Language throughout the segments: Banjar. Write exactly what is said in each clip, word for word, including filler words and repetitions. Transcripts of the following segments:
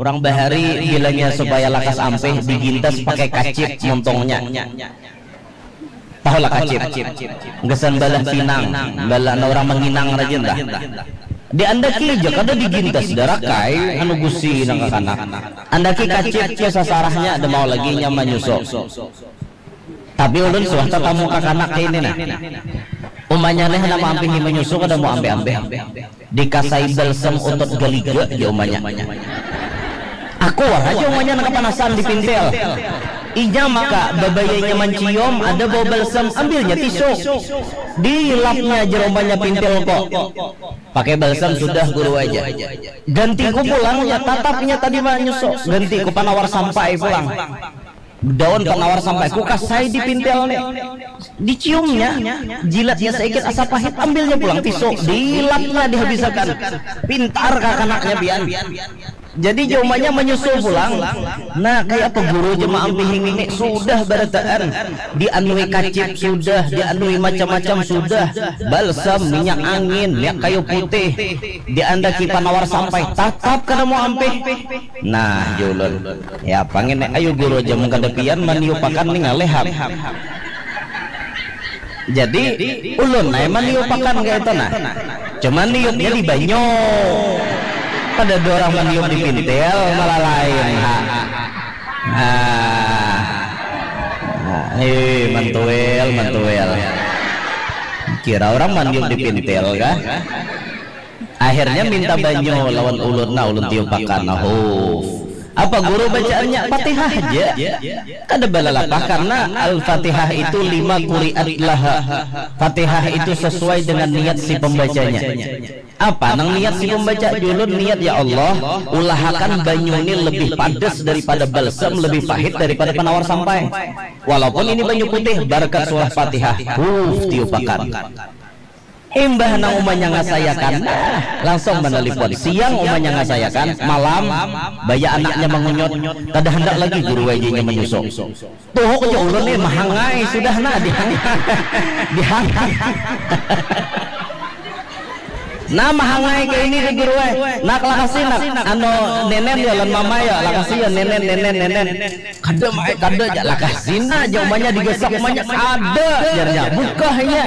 Urang bahari bilanya supaya lakas ampih, digintas pakai kacip muntungnya. Tahulah kacip? Gasan balah pinang, balah urang manginang rajin tah. Diandaki ja kada digintas, darakai anu gusi nang kakanak. Andaki kacip tu sasarahnya, ada mau lagi nya manyusu. Tapi ulun suah tatamu kakanak kaya ini nah. Umanya nih handak maampihi manyusu kada mau ampih-ampih. Dikasai balsam utut galiga ja umanya. Aku wara ja umanya nang kapanasan di pintil. Inya maka babayainya mancium, ada bawa balsam, ambilnya tisu. Dilapnya ja umanya pintil ko. Pakai balsam sudah guru aja. Gantiku pulang ya, tatapnya tadi manyusu. Gantiku panawar sampai pulang. Daun panawar sampai ku kasai di pintil nih. Diciumnya, jilatnya saikit asa pahit, ambilnya pulang tisu, dilapnya dihabisakan. Pintar kakanaknya pian. Jadi jaumanya menyusul pulang. Nah, kayak apa guru jemaah ampihing ini sudah barataan, dianui kacip sudah, dianui macam-macam sudah, balsam, minyak angin, minyak kayu putih, diandaki panawar sampai, tatap kada mau ampih. Nah, julun. Ya, pangin, ayo guru aja mun kada pian maniupakan nih ngaleham. Jadi, ulun ai maniupakan kayak itu nah. Cuman niupnya di banyu. Kada ada orang maniup di pintil, malah lain. Ha. Nah. Nah, eh, mantuil, mantuil. Kira orang maniup di pintil kah? Akhirnya minta banyu lawan ulun, nah ulun tiupakan, nah huf. Apa guru bacaannya? Fatihah aja. Kada balalapah karena Al-Fatihah itu lima kuriat laha. Fatihah itu sesuai dengan niat si pembacanya. Apa nang niat si pembaca? Julun niat, ya Allah, ulahakan banyu ini lebih padas daripada balsam, lebih pahit daripada penawar sampai. Walaupun ini banyu putih, barakat surah Fatihah. Huf, tiupakan. Imbah nang umanya ngasayakan, nah, langsung manalipon. Siang umanya ngasayakan, malam baya anaknya mangunyut, kada handak lagi guru wajahnya manyusu. Tuhuk ja ulun nih mahangai sudah nah, dihangai. Dihangai. Nah, mahangai kayak ini ke guru eh. Nak, lakasi nak, anu, nenen ya lan mama ya, lakasi ya nenen, nenen, nenen. Kada mai, kada ja, lakasi nah, ja umanya digasak umanya, ada jarnya, bukahnya.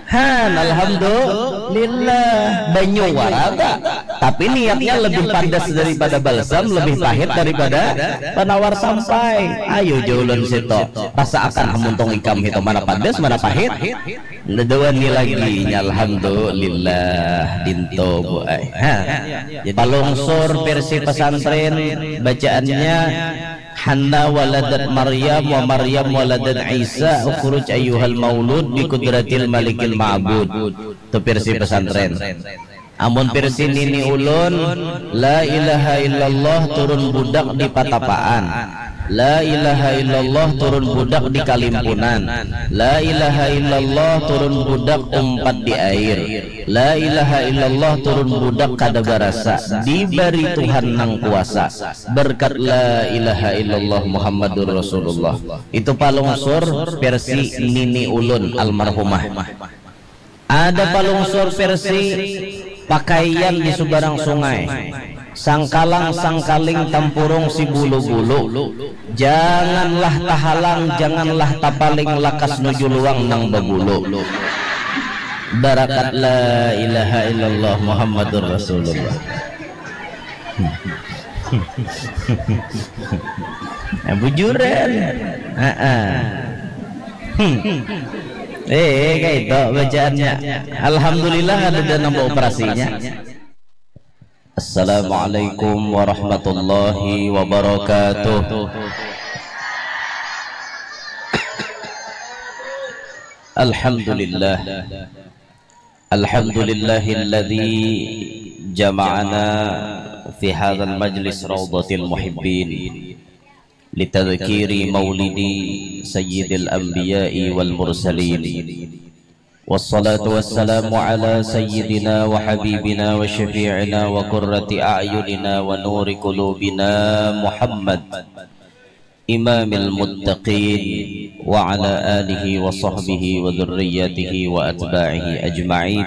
Han, alhamdulillah, banyu wara ta. Tapi niatnya lebih padas daripada balsam, lebih pahit daripada penawar sampai. Ayo ja ulun situ, rasaakan hamuntung ikam hitu, mana padas, mana pahit. Nadawani lagi nya, alhamdulillah, dinto bu ai. Ha. Jadi palungsur versi pesantren bacaannya, Hanna waladat Maryam wa Maryam waladat Isa, ukhruj ayyuhal maulud bi qudratil malikil ma'bud. Itu versi pesantren. Amun versi nini ulun, la ilaha illallah turun budak di Patapaan. La ilaha illallah turun budak di Kalimpunan. La ilaha illallah turun budak umpat di air. La ilaha illallah turun budak kada barasa, dibari Tuhan nang kuasa. Berkat la ilaha illallah Muhammadur Rasulullah. Itu palungsur versi nini ulun almarhumah. Ada palungsur versi pakaian di subarang sungai. Sangkalang sangkaling tampurung si bulu-bulu. Janganlah tahalang, janganlah tapaling lakas nuju luang nang babulu. Barakat la ilaha illallah Muhammadur Rasulullah. Nah, bujuran. Heeh. Hmm. Eh, kayak itu bacaannya. Alhamdulillah ada dan nambah operasinya. Assalamualaikum warahmatullahi wabarakatuh. Alhamdulillah. Alhamdulillahilladzi jama'ana fi hadzal majlis raudhatil muhibbin litadzkiri maulidi sayyidil anbiya'i wal mursalin. Wassalatu wassalamu ala sayyidina wa habibina wa syafi'ina wa qurrati a'yunina wa nuri qulubina Muhammad imamil muttaqin wa ala alihi wa sahbihi wa dzurriyyatihi wa atba'ihi ajma'in.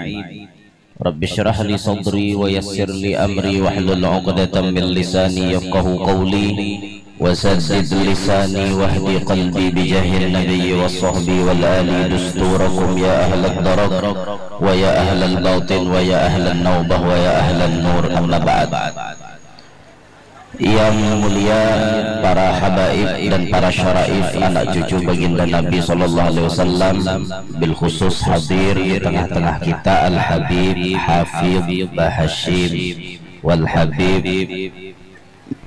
Rabbi syrah li sadri wa yassir li amri wahlul uqdatan min lisani yafqahu qawli. Wasaddid lisani wahdi qalbi bijahil nabiyyi wa sahbi wal ali dusturakum ya ahlad darak wa ya ahlal batin wa ya ahlan naubah wa ya ahlan nur, amma ba'd. Yang mulia para habaib dan para syaraif anak cucu baginda Nabi sallallahu alaihi wasallam, bil khusus hadir di tengah-tengah kita Al Habib Hafid Bahashim wal Habib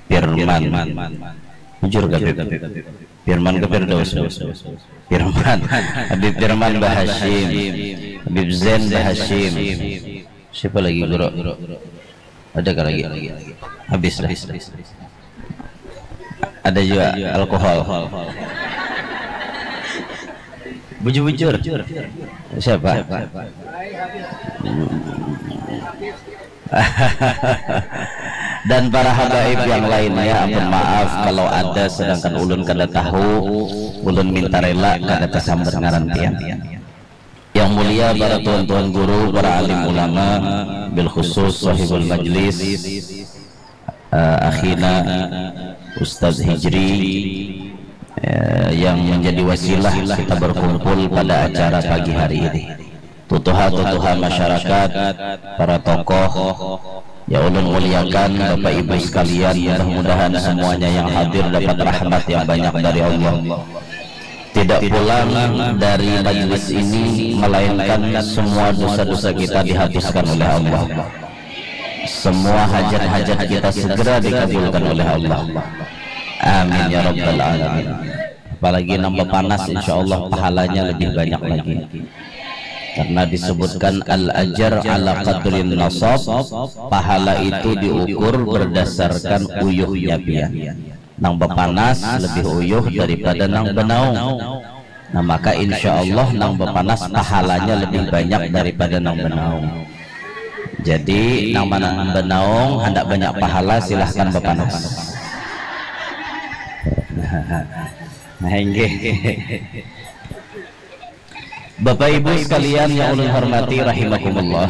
Firman. Jujur gak Bib? Firman ke Firdaus? Firman. Habib Firman Bahashim. Habib Zain Bahashim. Siapa lagi guru? Ada kah lagi? Habis dah. Ada juga alkohol. Bujur-bujur. Siapa? Dan para habaib yang lainnya, ampun maaf kalau ada, sedangkan ulun kada tahu, ulun minta rela kada tasambat ngaran pian. Yang mulia para tuan-tuan guru, para alim ulama, bil khusus sahibul majlis, eh, akhina Ustadz Hijri, eh, yang menjadi wasilah kita berkumpul pada acara pagi hari ini. Tutuha-tutuha masyarakat, para tokoh, ya ulun muliakan, Bapak Ibu sekalian, mudah-mudahan semuanya yang hadir dapat rahmat yang banyak dari Allah. Tidak pulang dari majlis ini melainkan semua dosa-dosa kita dihapuskan oleh Allah. Semua hajat-hajat kita segera dikabulkan oleh Allah. Amin ya rabbal alamin. Apalagi nambah panas, insya Allah pahalanya lebih banyak lagi. Karena disebutkan al ajar ala qadrin nasab, pahala itu diukur berdasarkan uyuhnya pian. Nang bapanas lebih uyuh daripada nang banaung. Nah, maka insya Allah nang bapanas pahalanya lebih banyak daripada nang banaung. Jadi nang mana banaung handak banyak pahala, silahkan bapanas. Nah, inggih. Bapak Ibu sekalian yang ulun hormati rahimakumullah.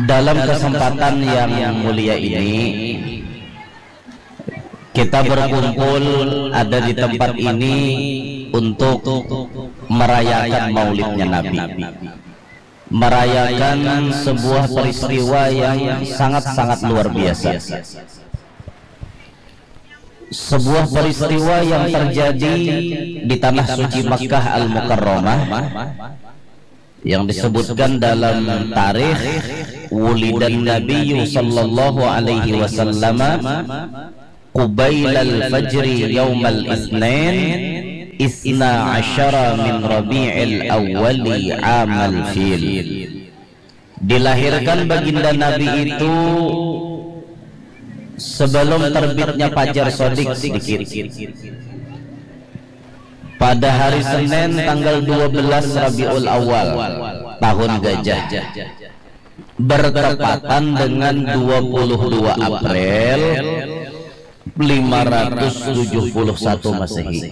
Dalam kesempatan yang mulia ini, kita berkumpul ada di tempat ini untuk merayakan maulidnya Nabi. Merayakan sebuah peristiwa yang sangat-sangat luar biasa. Sebuah peristiwa yang terjadi di tanah suci Makkah Al-Mukarramah yang disebutkan dalam tarikh, wulidan Nabiyyu sallallahu alaihi wasallam qubailal fajri yaumal isnain isna asyara min rabi'il awwali amal fil. Dilahirkan baginda Nabi itu sebelum terbitnya fajar sodik sedikit. Pada hari Senin tanggal dua belas Rabiul Awal tahun gajah, bertepatan dengan dua puluh dua April lima ratus tujuh puluh satu Masehi.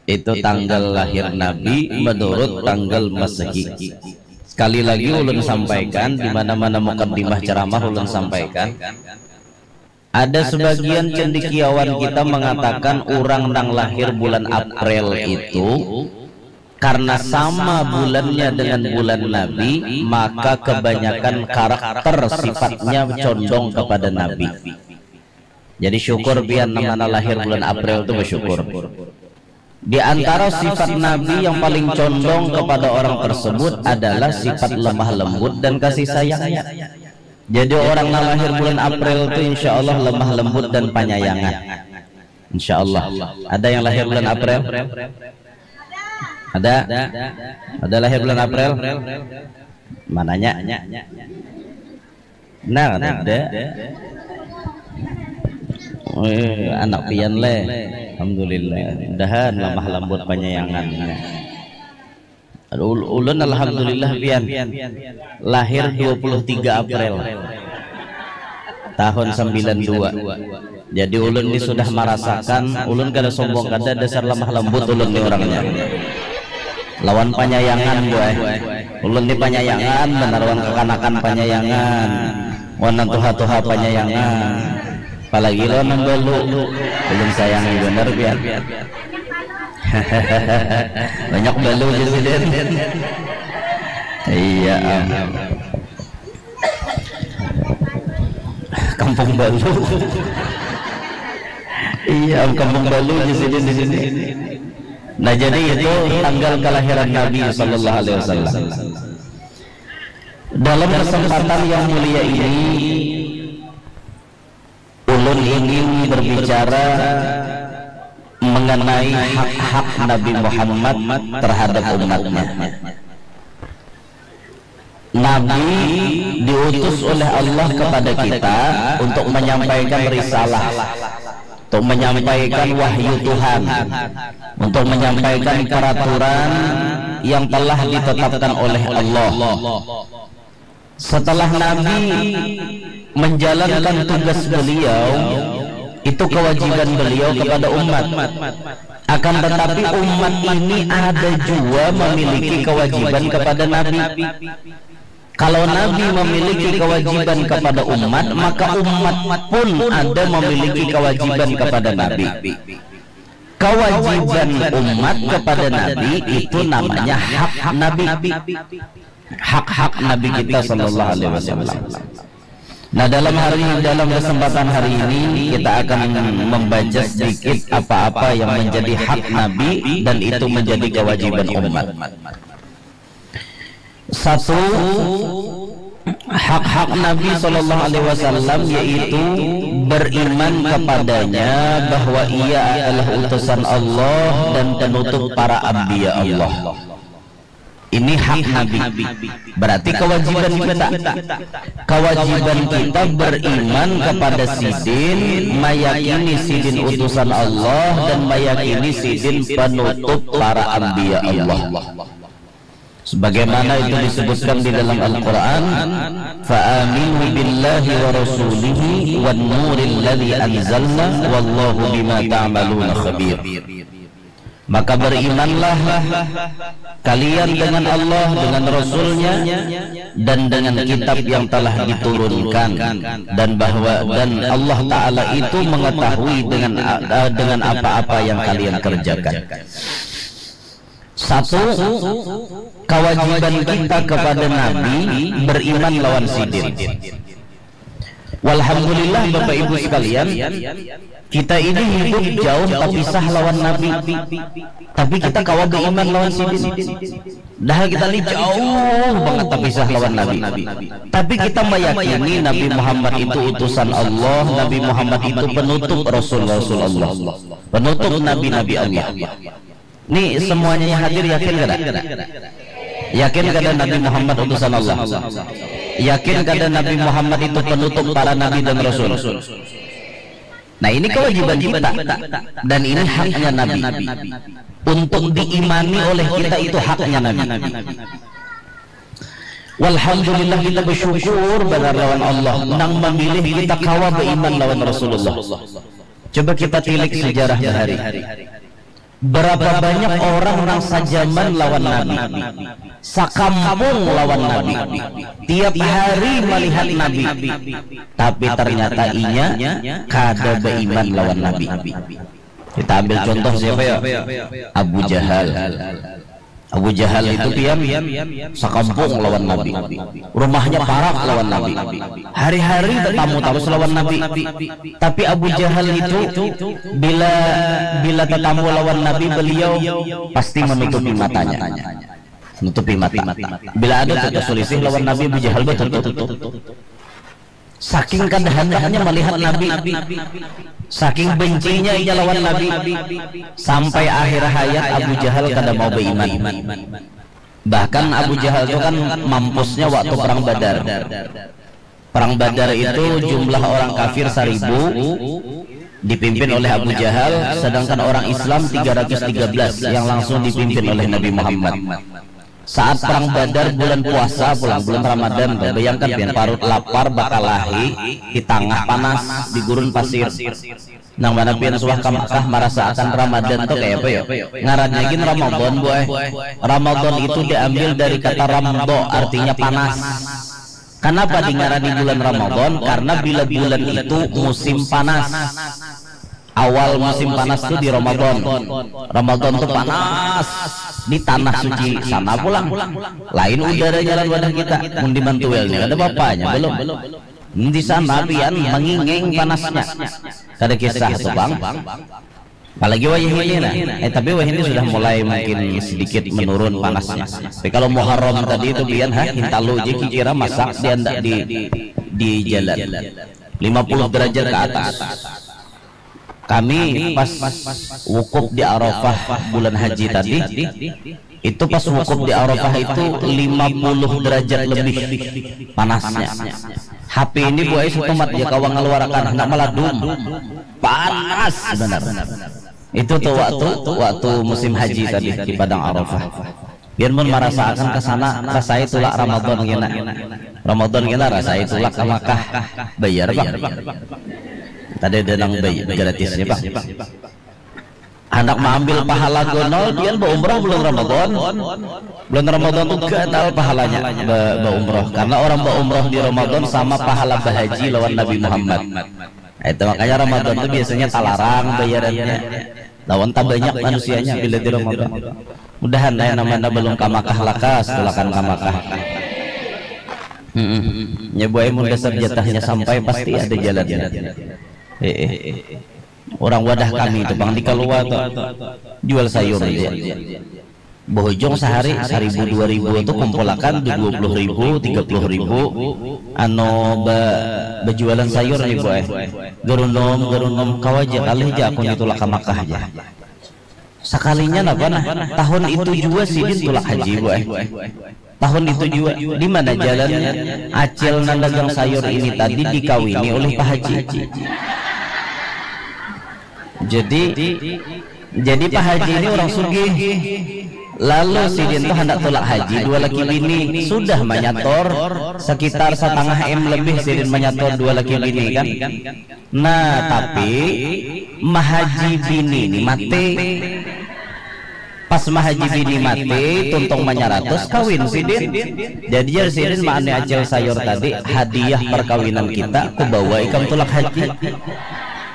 Itu tanggal lahir Nabi menurut tanggal Masehi. Sekali lagi ulun sampaikan, di mana-mana mukaddimah ceramah ulun sampaikan, ada sebagian cendekiawan kita mengatakan orang nang lahir bulan April itu karena sama bulannya dengan bulan Nabi, maka kebanyakan karakter sifatnya condong kepada Nabi. Jadi syukur pian nang mana lahir bulan April tu bersyukur. Di antara sifat Nabi yang paling condong kepada orang tersebut adalah sifat lemah lembut dan kasih sayangnya. Jadi orang yang lahir bulan April itu insya Allah lemah lembut dan penyayangan. Insya Allah. Ada yang lahir bulan April? Ada? Ada lahir bulan April? Mananya? Nah, ada. Eh, anak pian leh. Alhamdulillah. Mudahan lamah lambut panyayangan. Ul- ulun alhamdulillah pian. Lahir dua puluh tiga April tahun sembilan dua. Jadi ulun ni sudah marasakan, ulun kada sombong kada, dasar lamah lambut ulun ni orangnya. Lawan panyayangan, buai. Ulun ni panyayangan banar wan kakanakan panyayangan, wan nang tuha-tuha panyayangan. Apalagi lawan nang balu, ulun sayangi banar pian. Banyak balu di sini. Iya am. Kampung Balu. Iya am, Kampung Balu di sini, di sini. Nah, jadi itu tanggal kelahiran Nabi Sallallahu Alaihi Wasallam. Dalam kesempatan yang mulia ini, ulun ingin berbicara mengenai hak-hak Nabi Muhammad terhadap umatnya. Nabi diutus oleh Allah kepada kita untuk menyampaikan risalah, untuk menyampaikan wahyu Tuhan, untuk menyampaikan peraturan yang telah ditetapkan oleh Allah. Setelah Nabi menjalankan tugas beliau, itu kewajiban beliau kepada umat. Akan tetapi, umat ini ada jua memiliki kewajiban kepada Nabi. Kalau Nabi memiliki kewajiban kepada umat, maka umat pun ada memiliki kewajiban kepada Nabi. Kewajiban umat kepada Nabi itu namanya hak Nabi. Hak-hak Nabi kita Sallallahu Alaihi Wasallam. Nah, dalam hari, dalam kesempatan hari ini, kita akan membaca sedikit apa-apa yang menjadi hak Nabi dan itu menjadi kewajiban umat. Satu, hak-hak Nabi Sallallahu Alaihi Wasallam yaitu beriman kepadanya, bahwa ia adalah utusan Allah dan penutup para anbiya Allah. Ini hak Nabi. Berarti kewajiban kita. Kewajiban kita beriman kepada Sidin, meyakini Sidin utusan Allah, dan meyakini Sidin penutup para anbiya Allah. Sebagaimana itu disebutkan di dalam Al-Quran, "Fa'aminu billahi wa rasulihi wan nuril ladzi anzalna, wallahu bima ta'maluna khabir." Maka berimanlah kalian dengan Allah, dengan Rasulnya, dan dengan kitab yang telah diturunkan, dan bahwa, dan Allah Ta'ala itu mengetahui dengan, eh, dengan apa-apa yang kalian kerjakan. Satu, kewajiban kita kepada Nabi beriman lawan Sidin. Walhamdulillah, Bapak Ibu sekalian, kita ini hidup jauh tapisah lawan Nabi, tapi kita kawa beriman lawan Sidin. Dah kita ni jauh banget tapisah lawan Nabi, tapi kita meyakini Nabi Muhammad itu utusan Allah, Nabi Muhammad itu penutup rasul-rasul Allah, penutup nabi-nabi Allah. Ni semuanya yang hadir yakin kada? Yakin kada Nabi Muhammad utusan Allah? Yakin kada Nabi Muhammad itu penutup para nabi dan rasul? Nah, ini kewajiban kita dan ini haknya Nabi. Untuk diimani oleh kita itu haknya Nabi. Walhamdulillah, kita bersyukur banar lawan Allah nang memilih kita kawa beriman lawan Rasulullah. Coba kita tilik sejarah bahari. Berapa banyak orang nang sajaman lawan Nabi, sakampung lawan Nabi, tiap hari melihat Nabi, tapi ternyata inya kada beriman lawan Nabi. Kita ambil contoh siapa ya? Abu Jahal. Abu Jahal itu pian sakampung lawan Nabi. Rumahnya parak lawan Nabi. Hari-hari tetamu terus lawan Nabi. Tapi Abu Jahal itu bila bila tetamu lawan Nabi, beliau pasti menutupi matanya. Menutupi mata. Bila ada tu selisih lawan Nabi, Abu Jahal betutup. Saking kada handaknya melihat Nabi, saking bencinya inya lawan Nabi, sampai akhir hayat Abu Jahal kada mau beriman. Bahkan Abu Jahal itu kan mampusnya waktu perang Badar. Perang Badar itu jumlah orang kafir seribu, dipimpin oleh Abu Jahal, sedangkan orang Islam tiga ratus tiga belas yang langsung dipimpin oleh Nabi Muhammad. Saat perang Badar bulan puasa pulang, bulan Ramadan tuh, bayangkan pian, parut lapar, bakalahi di tangah panas di gurun pasir. Nang mana pian suah ka Makkah marasa akan Ramadan tuh kayak apa ya? Ngarannya gin Ramadan, bu eh. Ramadan itu diambil dari kata ramdo, artinya panas. Kenapa dingarani bulan Ramadan? Karena bila bulan itu musim panas. Awal musim panas tuh di Ramadan. Ramadan tuh panas di tanah suci sana pulang. Lain udaranya lawan wadah kita. Mun di Mantuil nih ada bapaknya belum. Di sana pian manginging panasnya. Kada kisah tuh, bang. Apalagi wayah ini nah. Eh, tapi wayah ini sudah mulai mungkin sedikit menurun panasnya. Tapi kalau Muharram tadi itu pian ha, hintalu aja kira masak di anda di di jalan. Lima puluh derajat ke atas. Kami pas wukuf di Arafah bulan haji tadi, itu pas wukuf di Arafah itu lima puluh derajat lebih panasnya. H P ini buai setumat dia kawa ngeluarakan, hendak meladum. Panas benar. Itu tuh waktu waktu musim haji tadi di Padang Arafah. Biar mun merasakan ke sana, rasai tulak Ramadan kena. Ramadan kena rasai tulak ke Makkah. Bayar, bang. Tadi ada nang bay gratisnya, bang. Anak mengambil pahala gonol, dia berumrah bulan Ramadan. Bulan Ramadan tuh gatal pahalanya be- berumrah, karena orang berumrah di Ramadan sama pahala berhaji lawan Nabi Muhammad. Nah, itu makanya Ramadan tuh biasanya talarang bayarannya. Lawan tak banyak manusianya bila di Ramadan. Mudahan lah yang namanya belum kamakah lakas tulakan kamakah. Mm-mm. Ya buai mun dasar jatahnya sampai pasti ada jalannya. Eh, eh. Orang wadah kami itu bang di Kalua tuh jual sayur aja. Bohojong sehari seribu dua ribu tuh kumpulakan di dua puluh ribu, tiga puluh ribu. Ano ba berjualan sayur nih boy. Gerundom gerundom kau aja kali aja aku nih tulak ke Makkah aja. Sekalinya apa nah? Tahun itu juga sidin tulak haji boy. Tahun itu juga di mana jalannya? Acil nang dagang sayur ini tadi dikawini oleh Pak Haji. Jadi jadi Pak Haji ini orang sugih. Lalu sidin tuh hendak tulak haji dua laki bini sudah menyator sekitar setengah M lebih sidin menyator dua laki bini kan. Nah tapi mahaji bini ini mati. Pas mahaji bini mati tuntung manyaratus kawin sidin. Jadi jar sidin maani acil sayur tadi hadiah perkawinan kita kubawa ikam tulak haji.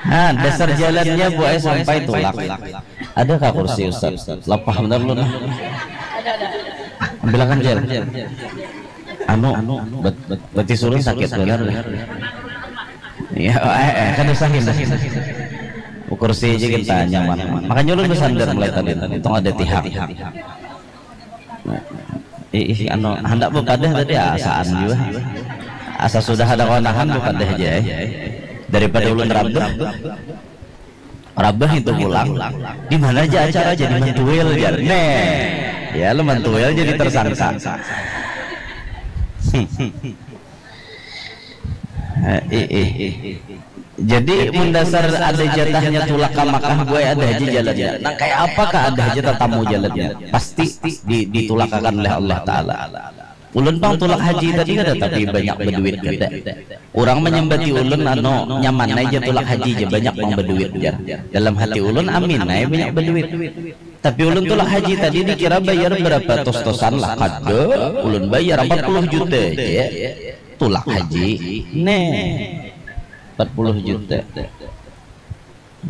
Nah dasar jalannya buai sampai tulak. Ada kah kursi Ustaz? Lapah benar lu nah. Ambilakan jar. Anu, bet, bet, betis ulun sakit benar. Ya, eh, eh, kan usahin dah. Kursi aja kita nyaman. Makanya ulun bersandar mulai tadi. Untung ada tihak. Ih, ih, anu, hendak bepadah tadi asaan juga. Asa sudah ada kawanan bepadah aja eh. Daripada ulun rabah. Rabah itu pulang. Di mana aja acara jadi mantuil jar. Neh. Ya lu mantuil jadi tersangka. Eh, eh, eh. Jadi mun dasar ada jatahnya tulak ke Makkah gue ada aja jalannya. Nah kayak apakah ada aja tatamu jalannya? Pasti di, ditulakakan oleh Allah Taala. Ulun pang tulak haji tadi kada tapi banyak berduit kada. Orang menyambati ulun anu nyaman aja tulak haji aja banyak pang berduit jar. Dalam hati ulun amin aja banyak berduit. Tapi ulun tulak haji tadi dikira bayar berapa tos-tosan lah kada. Ulun bayar empat puluh juta aja. Tulak haji. Neh. Empat puluh juta.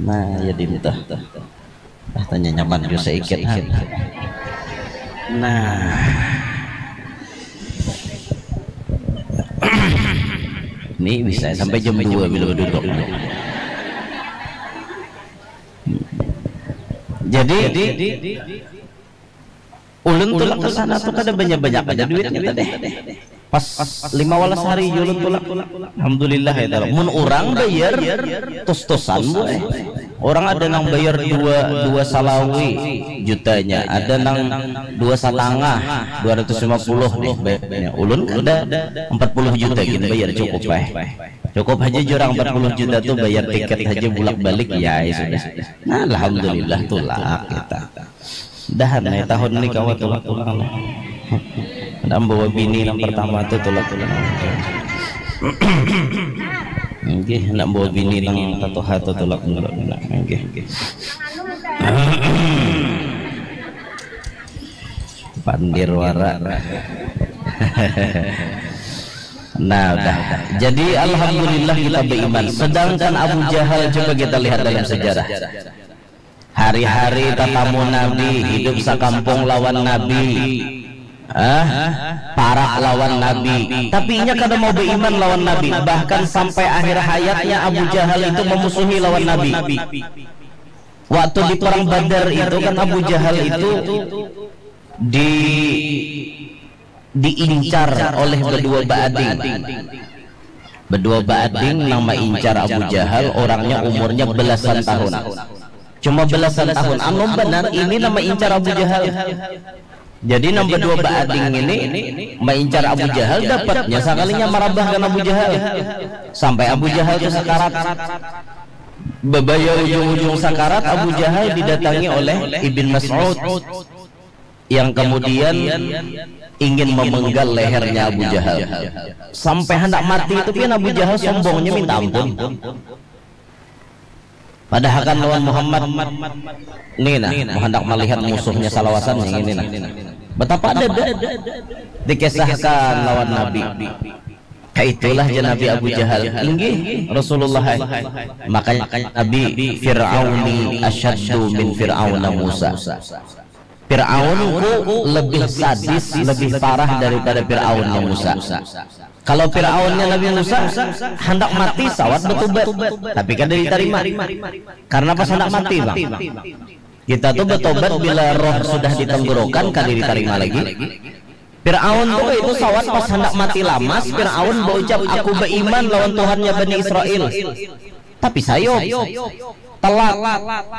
Nah, ya dintah. Ah, tanya nyaman juga seikit ha. Nah. Ini bisa sampai jam dua bila duduk. Jadi ulun tulak ke sana tuh kada banyak-banyak ada duitnya tadi. Pas lima walas hari ulun tulak. Alhamdulillah ya. Mun orang bayar tos-tosan boy. Orang ada nang bayar dua dua salawi jutanya, ada nang dua setengah, dua ratus lima puluh nih bayarnya. Ulun kada empat puluh juta gin bayar cukup eh. Cukup aja jurang empat puluh juta tuh bayar tiket aja bulak balik ya, ya sudah. Nah, alhamdulillah tulak kita. Dahan nih tahun ini kawa tulak-tulak lah. Nak bawa bini nang pertama tu tulak. Nggih, nak bawa bini nang tatuha tu tulak dulu. Nggih. Pandir wara. Nah, dah. Jadi alhamdulillah kita beriman. Sedangkan Abu Jahal, coba kita lihat dalam sejarah. Hari-hari tatamu Nabi, hidup sakampung lawan Nabi. Ah, parak lawan Nabi. Tapi inya kada mau beriman lawan Nabi. Bahkan sampai akhir hayatnya Abu Jahal itu memusuhi lawan Nabi. Waktu di perang Badar itu kan Abu Jahal itu di diincar oleh bedua baading. Bedua baading nang maincar Abu Jahal, orangnya umurnya belasan tahun. Cuma belasan tahun. Anum banar, ini nang maincar Abu Jahal. Jadi nang bedua baading ini maincar Abu Jahal, dapatnya sakalinya marabahkan Abu Jahal. Sampai Abu Jahal tu sakarat. Babaya ujung-ujung sakarat, Abu Jahal didatangi oleh Ibn Mas'ud yang kemudian ingin memenggal lehernya Abu Jahal. Sampai hendak mati itu pian Abu Jahal sombongnya minta ampun. Padahakan lawan Muhammad ni nah, mau hendak melihat musuhnya salawasan yang ini nah. Betapa ada dikisahkan lawan Nabi. Kaitulah ja Nabi Abu Jahal. Inggih, Rasulullah ai. Makanya Nabi, "Fir'auni asyaddu min Fir'auna Musa." Fir'aunku lebih sadis, lebih parah daripada Fir'aunnya Musa. Kalau Fir'aunnya Nabi Musa, hendak mati sawat bertobat, tapi kada diterima. Karena pas hendak mati, Bang. Kita tuh bertobat bila roh sudah ditenggorokan, kada diterima lagi. Fir'aun tuh itu sawat pas hendak mati lamas, Fir'aun berucap, "Aku beriman lawan Tuhannya Bani Israel." Tapi sayop, telat,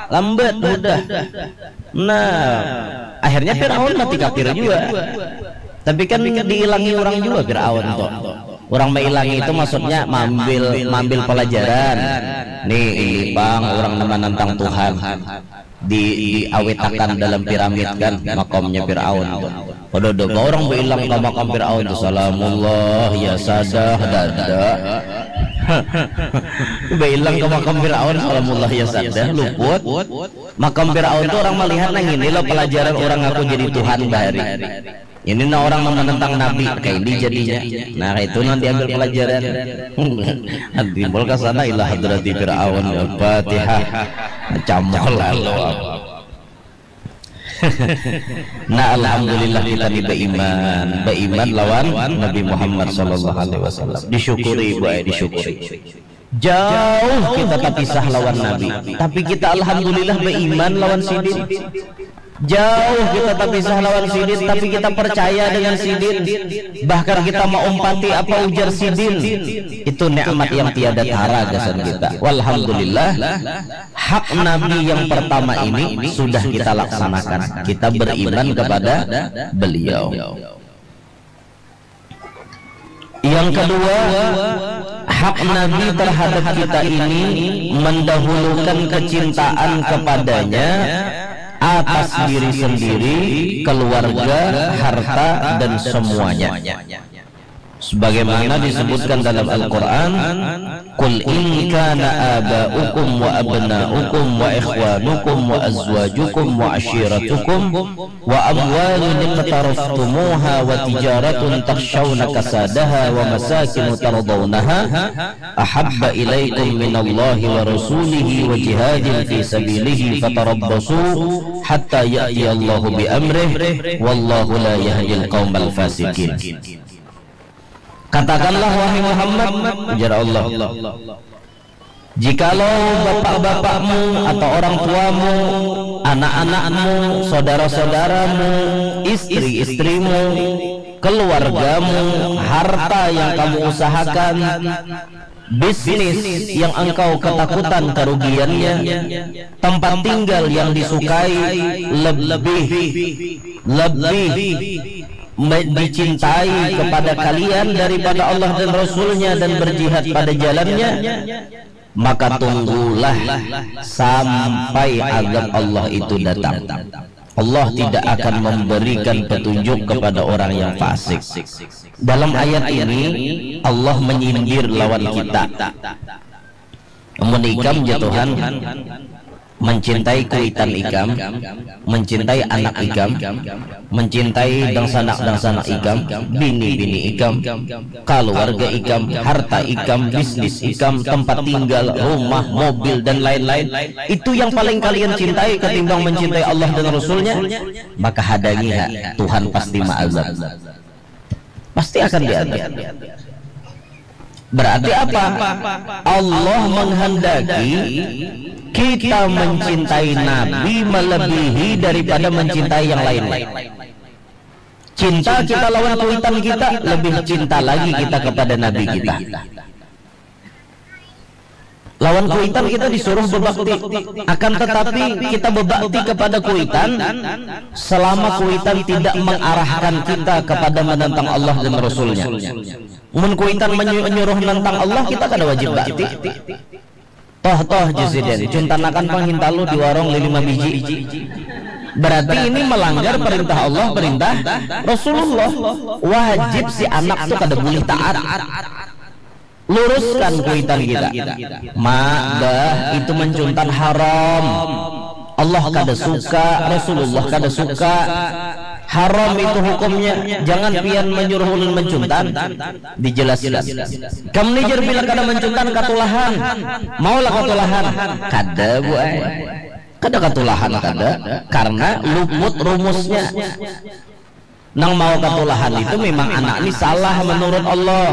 lambat, mudah. Nah, akhirnya Fir'aun mati kafir juga. Tapi kan diilangi orang juga Fir'aun tuh. Orang mailangi itu maksudnya mambil mambil pelajaran. Nih, ini pang orang nang manantang Tuhan. Di diawetakan dalam piramid kan, makamnya Firaun tuh. Kada ada orang bailang ka makam Firaun tuh, "Salamullah ya sadah," dada. Bailang ka makam Firaun, "Salamullah ya sadah," luput. Makam Firaun tuh orang malihat nang ini lo pelajaran orang aku jadi Tuhan bahari. Ini nah orang nang menentang Nabi, kayak ini jadinya. Nah, kayak itu nang diambil pelajaran. Timbul ke sana, ila hadrati Fir'aun, Al-Fatihah. Camol lalu. Nah, alhamdulillah kita ni beriman, beriman lawan Nabi Muhammad sallallahu alaihi wasallam. Disyukuri, Bu, eh, disyukuri. Jauh kita tapisah lawan Nabi, tapi kita alhamdulillah beriman lawan sidin. Jauh kita tapisah lawan sidin, tapi kita percaya dengan sidin. Bahkan kita maumpati apa ujar sidin. Itu nikmat yang tiada tara gasan kita. Walhamdulillah, hak Nabi yang pertama ini sudah kita laksanakan. Kita beriman kepada beliau. Yang kedua, hak Nabi terhadap kita ini mendahulukan kecintaan kepadanya atas diri sendiri, keluarga, harta, dan semuanya. Sebagaimana disebutkan dalam Al-Quran, "Qul in kana aba'ukum wa abna'ukum wa ikhwanukum wa azwajukum wa ashiratukum wa amwalun iqtaraftumuha wa tijaratun takhshawna kasadaha wa masakinu tardawnaha ahabba ilaikum minallahi wa rasulihi wa jihadin fi sabilihi fatarabbasu hatta ya'tiyallahu bi amrih wallahu la yahdil qaumal fasikin." Katakanlah, wahai Muhammad, ujar Allah, jikalau bapak-bapakmu atau orang tuamu, anak-anakmu, saudara-saudaramu, istri-istrimu, keluargamu, harta yang kamu usahakan, bisnis yang engkau ketakutan kerugiannya, tempat tinggal yang disukai, lebih, lebih me- dicintai kepada kalian daripada Allah dan Rasulnya dan berjihad pada jalannya, maka tunggulah sampai azab Allah itu datang. Allah tidak akan memberikan petunjuk kepada orang yang fasik. Dalam ayat ini, Allah menyindir lawan kita. Amun ikam, ya Tuhan, mencintai kuitan ikam, mencintai anak ikam, mencintai dangsanak-dangsanak ikam, bini-bini ikam, keluarga ikam, harta ikam, bisnis ikam, tempat tinggal, rumah, mobil, dan lain-lain, itu yang paling kalian cintai ketimbang mencintai Allah dan Rasulnya, maka hadangi ha, Tuhan pasti maazab. Pasti akan diazab. Berarti apa? Allah menghendaki kita mencintai Nabi melebihi daripada mencintai yang lain. Cinta kita lawan kuitan kita lebih cinta lagi kita kepada Nabi kita. Lawan kuitan kita disuruh bebakti, akan tetapi kita bebakti kepada kuitan selama kuitan tidak mengarahkan kita kepada menentang Allah dan Rasulnya. Mun kuitan menyuruh menentang Allah, kita kada wajib bakti. Toh toh, Jusiden, cuntanakan pang hintalu di warung lima biji. Berarti ini melanggar perintah Allah, perintah Rasulullah. Wajib si anak tu kada boleh taat. Luruskan kuitan kita. Mak, bah, itu mencuntan haram. Allah kada suka, Rasulullah kada suka. Haram itu hukumnya. Jangan pian menyuruh ulun mencuntan. Dijelaskan. Kam ni jar bila kada mencuntan katulahan. Maulah katulahan. Kada, Bu ai. Kada katulahan, kada. Karena luput rumusnya. Nang mau katulahan itu memang anak ni salah menurut Allah.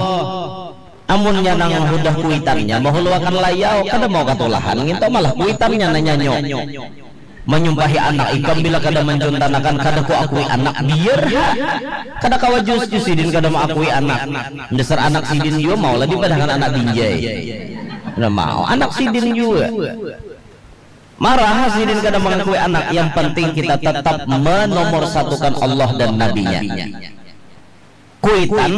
Amunnya nang hudah kuitannya mahuluakan layau, kada mau katulahan nginto, malah kuitannya nanyanyo. Manyumpahi anak ikam bila kada mancuntanakan, kada ku akui anak, biar ha. Kada kawa jus jus sidin kada maakui anak. Dasar anak sidin jua maulah dipadahakan anak binjai. Kada mau, anak sidin jua. Marah sidin kada mengakui anak, yang penting kita tetap menomorsatukan Allah dan Nabi-Nya. Kuitan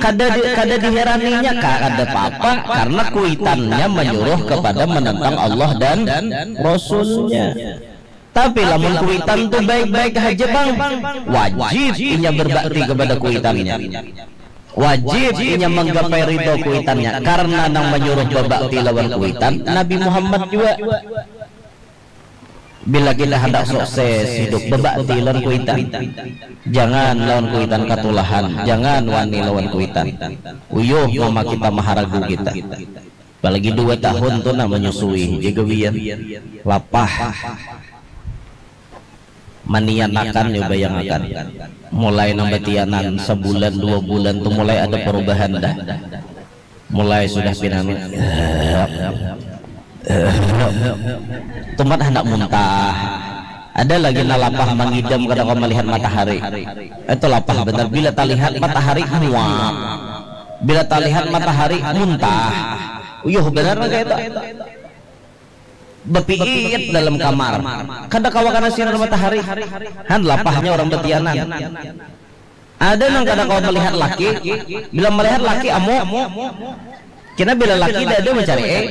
kada di, kada diheraninya, kada apa-apa, karena kuitannya menyuruh kepada menentang Allah dan Rasulnya. Tapi lamun kuitan tu baik-baik haja, Bang, wajib inya berbakti kepada kuitannya. Wajib inya manggapai ridho kuitannya, karena nang manyuruh babakti lawan kuitan Nabi Muhammad jua. Bila kita handak sukses hidup, babakti lawan kuitan. Jangan lawan kuitan katulahan, jangan wani lawan kuitan. Uyuh mama kita maharagu kita. Apalagi dua tahun tu nah manyusui, jaga wian. Lapah. Manianakan, ya, bayangakan. Mulai nang batianan sabulan, dua bulan tu mulai ada perubahan dah. Mulai sudah pinangan. Tumat handak muntah. Ada lagi nah lapah mangidam kada kawa malihat matahari. Itu lapah banar. Bila talihat matahari muak. Bila talihat matahari muntah. Uyuh banar nang kaya itu. Bapiit dalam kamar. Kada kawa kana sinar matahari. Han lapahnya orang batianan. Ada nang kada kawa malihat laki. Bila malihat laki amuk. Kena bila laki dah ada mencari, eh,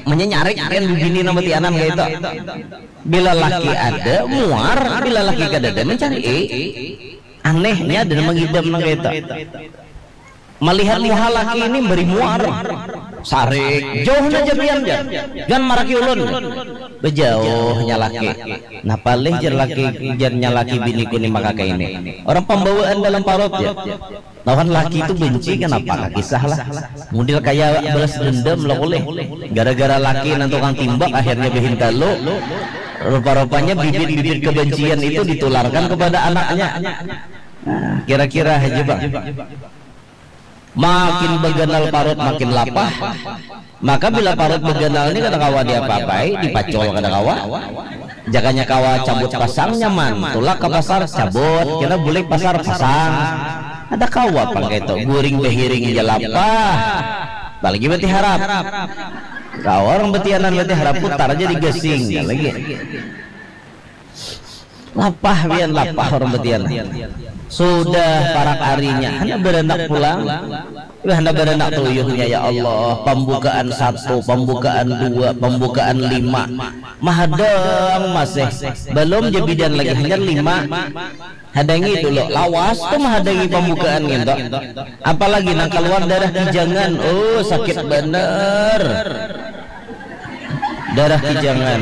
menyari kan bibini nang batianan kaya itu. Bila laki ada muar, bila laki kada ada mencari, eh. Anehnya ada nang mangidam nang kaya itu. Malihat muha laki ini bari muar. Sarik, jauh na jabian jar. Jangan maraki ulun. Bejauhnya laki. Nah, palih jar laki, jarnya laki biniku ni maka kaini. Orang pembawaan dalam parut ya. Lawan laki itu benci, kenapa? Kisah lah. Mudil kaya balas dendam lah ulih. Gara-gara laki nang tukang timbak akhirnya behintalu. Rupa-rupanya bibit-bibit kebencian itu ditularkan kepada anaknya. Nah, kira-kira aja bang. Makin beganal parut makin lapah. Maka bila parut beganal ni kada kawa diapa-apai, dipacol kada kawa. Jakanya kawa cabut pasang nyaman, tulak ka pasar cabut, kena bulik pasar pasang. Kada kawa pang kaitu, guring bahiring ja lapah. Apalagi batiharap. Kawa orang batianan batiharap putar ja di gasing lagi. Lapah pian, lapah urang batian. Sudah parak arinya, handak baranak pulang. Imbah handak baranak tuyuhnya, ya Allah, pambukaan satu, pambukaan dua, pambukaan lima. Mahadang masih. Balum ja bidan lagi, hanyar lima. Hadangi dulu, lawas tu mahadangi pambukaan ngintu. Apalagi nang kaluar darah kijangan, oh, sakit banar. Darah kijangan.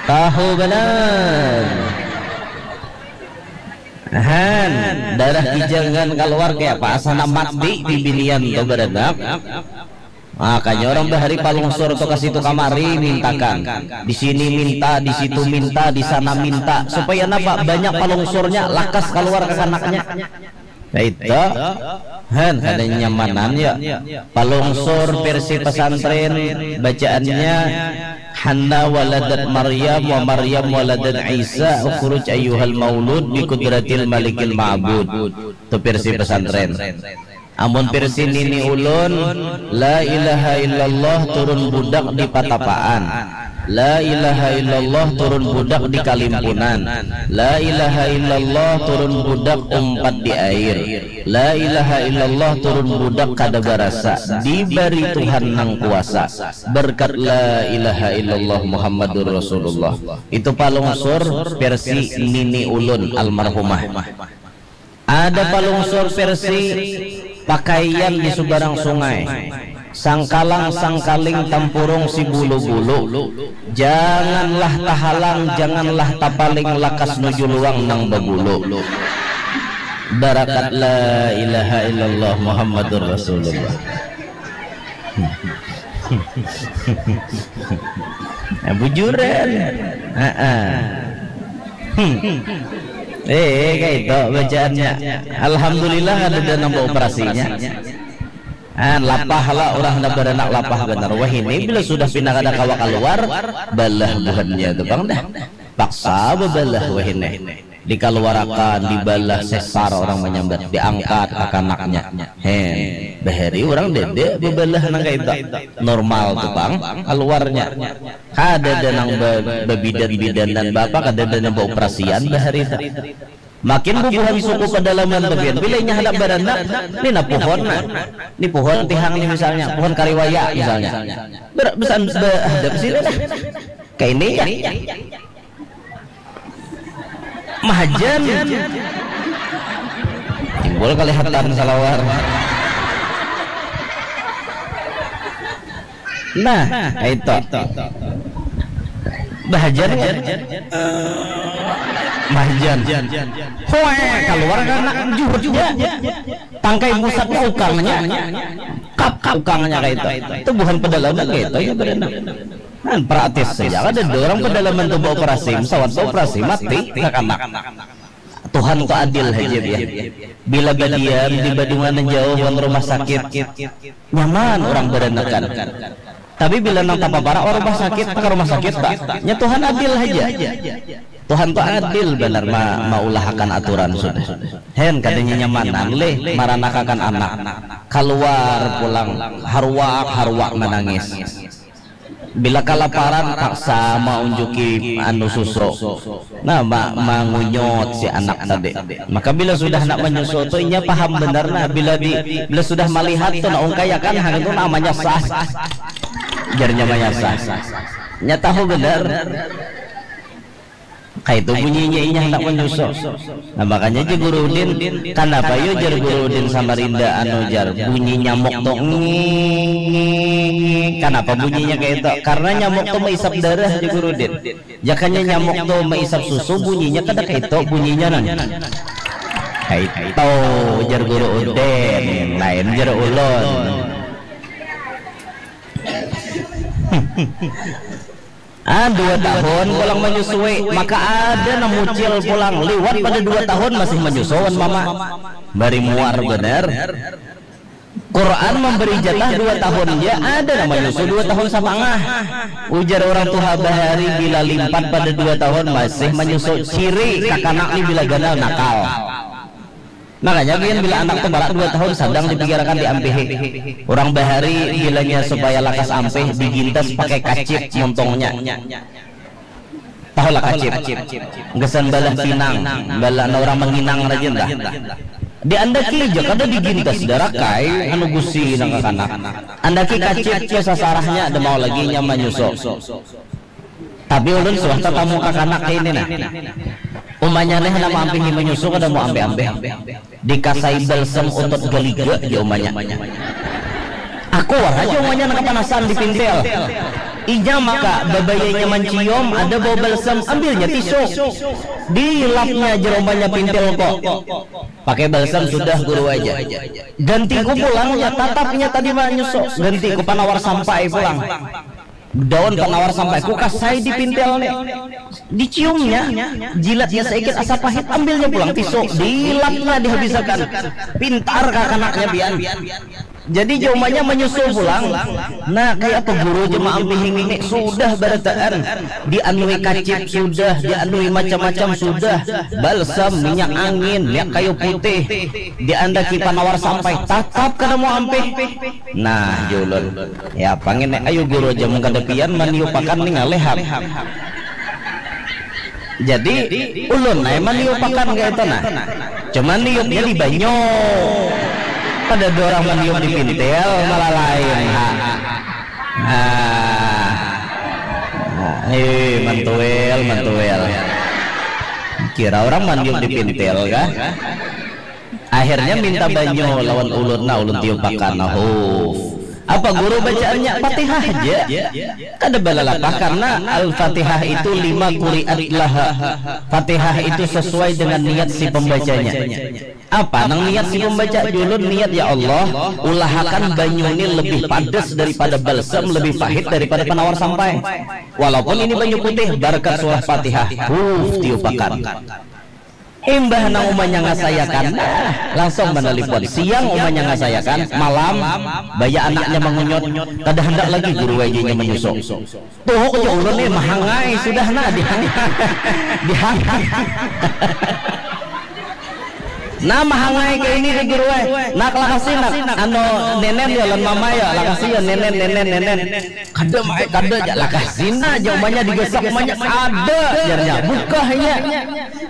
Tahu banar. Han, darah kijangan kaluar kaya apa? Asa handak mati bibinian tu baranak. Makanya urang bahari palungsur tu ka situ kamari mintakan. Di sini minta, di situ minta, di sana minta. Supaya napa? Banyak palungsurnya, lakas kaluar kakanaknya. Kaitu. Han, kada nyamanan ya. Palungsur versi pesantren, bacaannya, Hanna waladat Maryam wa Maryam waladat Isa, ukhruj ayyuhal maulud bi qudratil malikil ma'bud. Tu versi pesantren. Amun versi nini ulun, la ilaha illallah turun budak di Patapaan. La ilaha illallah turun budak di Kalimpunan. La ilaha illallah turun budak umpat di air. La ilaha illallah turun budak kada barasa. Dibari Tuhan nang kuasa. Berkat la ilaha illallah Muhammadur Rasulullah. Itu palungsur versi nini ulun almarhumah. Ada palungsur versi pakaian di subarang sungai. Sangkalang sangkaling tampurung si bulu-bulu. Janganlah tahalang, janganlah tapaling lakas nuju luang nang babulu. Barakat la ilaha illallah Muhammadur Rasulullah. Nah, bujuran. Heeh. Hmm. Eh, kayak itu bacaannya. Alhamdulillah ada dana operasinya. Ah, lapah lah orang nak beranak lapah benar. Wah ini bila sudah pindah kada kawa keluar, balah buhannya tu bang dah. Paksa bebalah wah ini. Dikaluarakan, dibalah sesar orang menyambat, diangkat kakanaknya. Hen, bahari orang dede bebalah nang kayak itu. Normal tu bang, keluarnya. Kada ada nang be- bebidan-bidanan bapa, kada ada nang beoperasian bahari itu. Makin bubuhan suku pedalaman bagian bila inya hendak beranak, ni nah pohon nah. Ni pohon tihang ni misalnya, pohon kariwaya misalnya. Ber, besan, be, hadap sini dah. Kayak ini ya. Mahajan. Timbul kelihatan salawar. Nah, itu. Bahajan kan? Bahajan. Hoe, keluar anak juhutnya. Tangkai pusatnya ukangnya. Kap ukangnya kayak itu. Itu bukan pedalaman kayak itu ya berenang. Kan praktis saja ada orang pedalaman tuh operasi, pesawat operasi mati kakanak. Tuhan tu adil haja ya. Bila badiam di badungan jauh wan rumah sakit, nyaman orang beranakan. Tapi bila nang tapaparak wan rumah sakit, ke rumah sakit tak? Nya Tuhan adil haja. Tuhan tu adil benar ma maulahakan aturan sudah. Hen kada nyamanan leh maranakakan anak. Keluar pulang haruak haruak menangis. Bila kalaparan paksa maunjuki anu susu. Nah, ma mangunyut si anak tadi. Maka bila sudah nak menyusu tu inya paham benar nah bila di bila sudah melihat tu nak ungkayakan hang itu namanya sah. Jarnya maya sah. Nya tahu benar. Kaitu bunyinya inya handak manyusu. Nah makanya ja Guru Udin, kanapa yo jar Guru Udin Samarinda anu jar bunyi nyamuk tu nging, kanapa bunyinya kaitu? Karena nyamuk tu maisap darah jar Guru Udin. Jakanya nyamuk tu maisap susu bunyinya kada kaitu bunyinya nan. Kaitu jar Guru Udin, lain jar ulun. Ah, dua tahun pulang menyusui, maka ada nang mucil pulang liwat pada dua tahun masih menyusu wan mama. Bari muar bener. Quran memberi jatah dua tahun ja, ada nang menyusu dua tahun satangah. Ujar orang tuha bahari bila limpat pada dua tahun masih menyusu, ciri kakanak ni bila ganal nakal. Makanya gin bila anak tu barak dua tahun sadang dipikirakan diampihi. Urang bahari bilanya supaya lakas ampih digintas pakai kacip muntungnya. Tahulah kacip. Gasan balah pinang, balah na urang manginang rajin tah. Diandaki ja kada digintas darakai anu gusi nang kakanak. Andaki kacip tu sasarahnya ada mau lagi nya manyusu. Tapi ulun suah tatamu kakanak kaini nah. Umanya nih handak maampihi manyusu kada mau ampih-ampih. Dikasai balsam utot galiga ja umanya. Aku wara ja umanya nang kapanasan di pintil. Inya maka babayanya mancium ada bau balsam ambilnya tisu. Dilapnya ja umanya pintil ko. Pakai balsam sudah guru aja. Gantiku pulang ya tatap inya tadi manyusu. Gantiku panawar sampai pulang. Daun panawar sampai ku kasai di pintil nih. Diciumnya, jilatnya saikit asa pahit, ambilnya pulang tisu, dilapnya dihabisakan. Pintar kakanaknya pian. Jadi jaumanya menyusul pulang. Nah, kayak apa guru jemaah ampihing ini sudah barataan dianui kacip sudah, dianui macam-macam sudah, balsam, minyak angin, minyak kayu putih, diandaki panawar sampai tatap kada mau ampih. Nah, julun. Ya, pangin ayu guru aja mun kada pian maniupakan nih ngalehak. Jadi ulun ai maniupakan kayak itu nah. Cuman niupnya di banyu. Pada dua orang maniup di pintil malah lain. Ha. Nah, eh mantuel, mantuel. Kira orang maniup di pintil kah? Akhirnya minta banyu lawan ulun nah ulun tiupakan nah huf. Apa guru bacaannya Fatihah aja. Kada balalapah karena Al-Fatihah itu lima kuriat laha. Fatihah itu sesuai dengan niat si pembacanya. Apa nang niat si pembaca julun niat ya Allah ulahakan banyu ini lebih padas daripada balsam lebih pahit daripada penawar sampai. Walaupun ini banyu putih barakat surah Fatihah huf tiupakan. Imbah nang umanya ngasayakan, nah, langsung manalipun. Siang umanya ngasayakan, malam baya anaknya mangunyut, kada handak lagi guru wajinya manyusu. Tuhuk ja ulun nih mahangai sudah nah dihangai. Dihangai. Nah mahangai ke ini ke guru eh. Nak lakasi nak anu nenen ya lan mama ya lakasi ya nenen nenen nenen. Kada mai kada ja lakasi nah ja umanya digasak umanya ada jarnya bukahnya.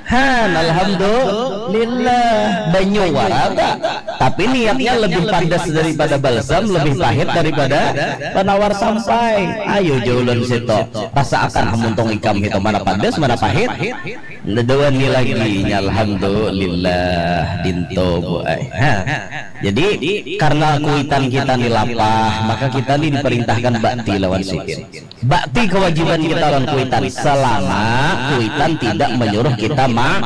Han, alhamdulillah. Banyu wara ta. Tapi niatnya lebih padas daripada balsam, lebih pahit daripada penawar sampai. Ayo jaulun situ. Rasa akan hamuntung ikam itu mana padas, mana pahit. Nadawani lagi nya alhamdulillah dinto bu ai. Ha. Jadi karena kuitan kita ni lapah, maka kita ni diperintahkan bakti lawan sidin. Bakti kewajiban kita lawan kuitan selama kuitan tidak menyuruh kita ma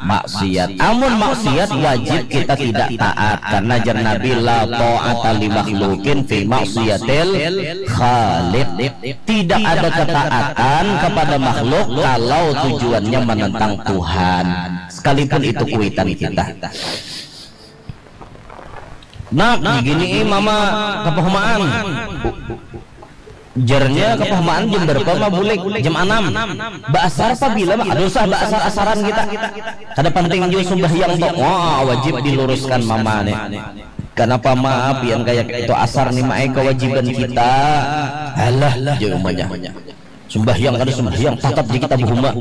maksiat. Amun maksiat wajib kita tidak taat karena jar Nabi la ta'ata li makhlukin fi maksiatil khaliq. Tidak ada ketaatan kepada makhluk kalau tujuannya menentang Tuhan. Sekalipun itu kuitan kita. Nak, gini mama kepahumaan. Jarnya kepahumaan jam berapa ma bulik? Jam enam. Baasar pabila ma? Aduh sah baasar asaran kita. Kada penting jua sumbahyang tu. Wah, wajib diluruskan mama nih. Kenapa ma pian kayak itu asar nih maai kewajiban kita. Alah, jauh umanya. Sumbahyang kada sumbahyang tatap di kita bahuma.